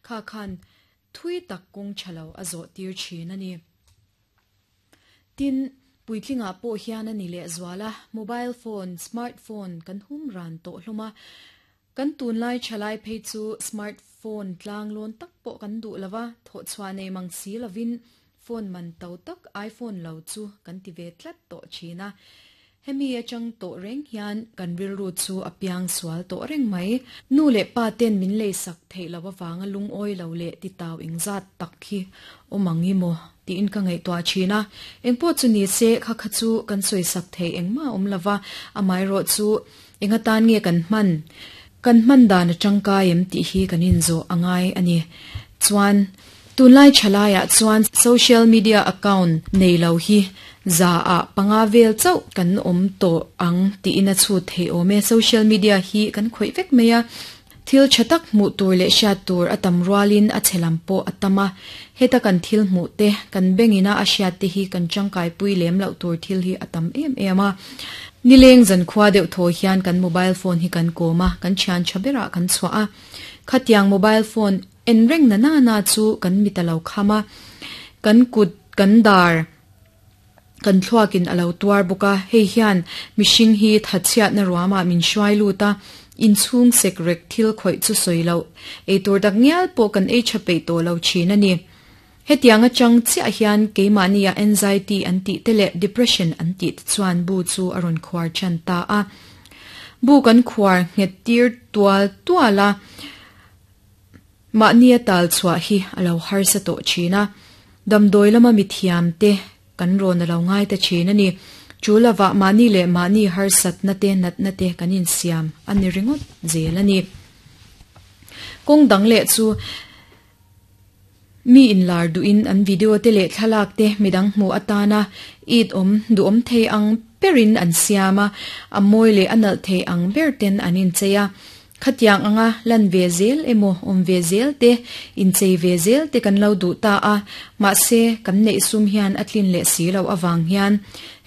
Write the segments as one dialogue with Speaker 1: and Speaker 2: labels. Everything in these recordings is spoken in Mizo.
Speaker 1: Kha khan thui tak kawng tha lo a zawh tir thin a ni. Tin, puitlingah pawh hian a ni lehzual a, mobile phone, smart phone kan hum ran tawh hlawm a. Kan tunlai thalai phei chu smart phone tlang lawn tak pawh kan duh lo va, thawhchhuah nei mang si lovin phone man to tak iPhone lo chu kan ti ve tlat tawh thin a. Hemi atang tawh reng hian kan rilru chu a piang sual tawh reng mai. Nu leh pa ten min leisak theih loh avanga lungawi lo leh titau engzat tak hi awm ang i maw tiin ka ngaihtuah thin a. Engpawh chu ni se kha kha chu kan sawisak theih engmah a awm lova, amaherawh chu eng atan nge kan hman, kan hman dan a tangkai em tih hi kan inzawh a ngai a ni. Chuan Tunlai thalaiah chuan social media account nei lo hi zaah panga vel chauh kan awm tawh ang tiin a chhut theih awm e. Social media hi kan khawih vek mai a, thil tha tak hmuh tur leh hriat tur a tam rualin a chhe lam pawh a tam a. Heta kan thil hmuh te, kan bengina a hriat te hi kan tangkaipui lem loh tur thil hi a tam em em a. Nileng zankhua deuh thaw hian kan mobile phone hi kan kawm a, kan thian tha berah kan chhuah a. Khatiang mobile phone En reng na na na chu kan mit a lo kham a, kan kut, kan dar, kan thluakin a lo tuar bawk a, hei hian mihring hi thatchhiatna ruamah min hruai lut a, inchhung sek rek thil khawih chu sawi loh, eitur tak ngial pawh kan ei tha peih tawh lo thin a ni. Hetiang atang chiah hian keimahnia anxiety an tih te leh depression an tih te chuan bu chu a rawn khuar tan ta a. Bu kan khuar nghet tir tual tual a. Mahnia tal chhuah hi a lo harsa tawh thin a, damdawi lama mithiam te kan rawn a lo ngai ta thin a ni. Chu lovah mahni leh mahni harsatna te natna te kan insiam a ni ringawt zel a ni. Kawng dang leh chu mi inlar duhin an video te leh thlalak te midang hmuh atana it awm duhawm thei ang berin an siam a, a mawi leh a nalh thei ang ber ten an inchei a. Khatiang anga lan ve zel emaw awm ve zel te, inchei ve zel te kan lo duh ta a, mahse kan neih sum hian a tlin leh si loh avang hian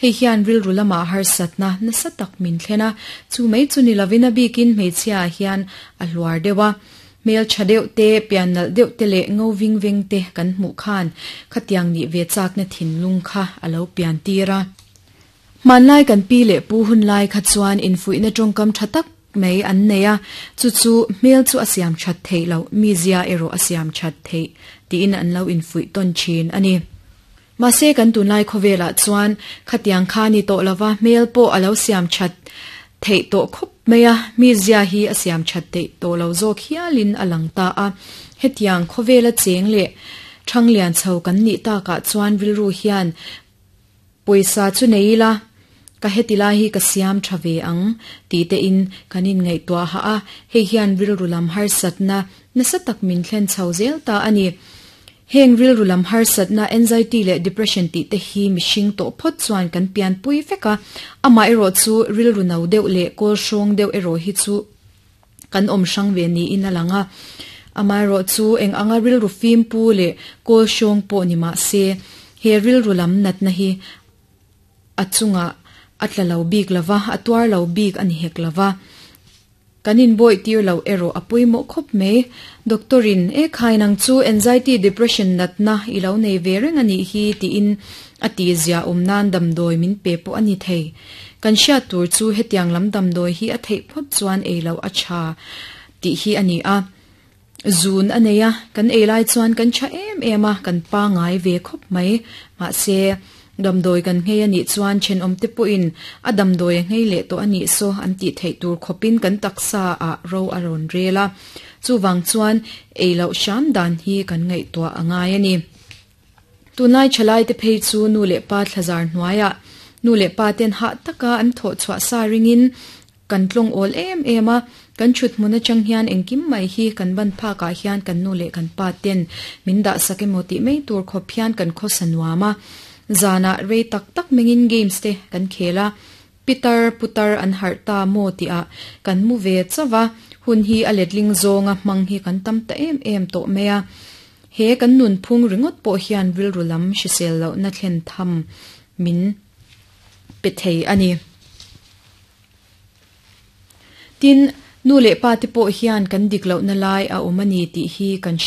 Speaker 1: hei hian rilru lamah harsatna nasa tak min thlen a, chu mai chu ni lovin a bikin hmeichhia ah hian a hluar deuh a. Hmel tha deuh te, pian nalh deuh te leh ngo ving veng te kan hmuh khan khatiang nih ve chakna thinlung kha a lo pian tir a. Hmanlai kan pi leh pu hunlai kha chuan infuihna tawngkam tha tak mai an nei a, chu chu hmel chu a siam that theih loh, mizia erawh a siam that theih tiin an lo infuih tawn thin a ni. Mahse kan tunlai khawvelah chuan khatiang kha ni tawh lova hmel pawh a lo siam that theih tawh khawp mai a, mizia hi a siam that theih tawh lo zawk hialin a lang ta a. Hetiang khawvela cheng leh thanglian chho kan nih takah chuan rilru hian Pawisa chu nei ila, ka heti lai hi ka siam tha ve ang tih te in kan inngaihtuah hah a, hei hian rilru lam harsatna nasa tak min thlen chho zel ta a ni. Heng rilru lam harsatna anxiety leh depression tih te hi mihring tawh phawt chuan kan pianpui vek a, amaherawh chu rilru no deuh leh kawl hrawng deuh erawh hi chu kan awm hrang ve niin a lang a. Amaherawh chu eng anga rilru fim pu leh kawl hrawng pawh ni mah se, he rilru lam natna hi a chungah a tla lo bik lo va, a tuar lo bik a ni hek lo va. Kan inbawih tir loh erawh a pawimawh khawp mai. Doctor in, E khai nang chu anxiety depression natna i lo nei ve reng a nih hi tiin a tihzia awm nan damdawi min pe pawh a ni thei. Kan hriat tur chu hetiang lam damdawi hi a theih phawt chuan ei loh a tha tih hi a ni a. Zun a nei a, kan ei lai chuan kan tha em em a, kan pangai ve khawp mai. Mahse, damdawi kan nghei a nih chuan thenawmte pawhin a damdawi a nghei leh tawh a nih saw an tih theih tur khawpin kan taksa ah ro a rawn rel a. Chuvang chuan ei loh hram dan hi kan ngaihtuah a ngai a ni. Tunlai thalaite phei chu nu leh pa thlazar hnuaiah nu leh pa ten hah taka an thawh chhuah sa ringin kan tlawng awl em em a, kan thut hmun atang hian engkim mai hi kan ban phakah hian kan nu leh kan pa ten min dah sak emaw tih mai tur khawp hian kan khawsa nuam a. Zanah rei tak tak mengin games te kan khel a, pitar putar an harh ta maw tihah kan mu ve chauh a, hun hi a letling zawnga hmang hi kan tam ta em em tawh mai a. He kan nunphung ringawt pawh hian rilru lam hrisel lohna thlen tham min pe thei a ni. Tin, nu leh pa te pawh hian kan dik lohna lai a awm a ni tih hi kan hria.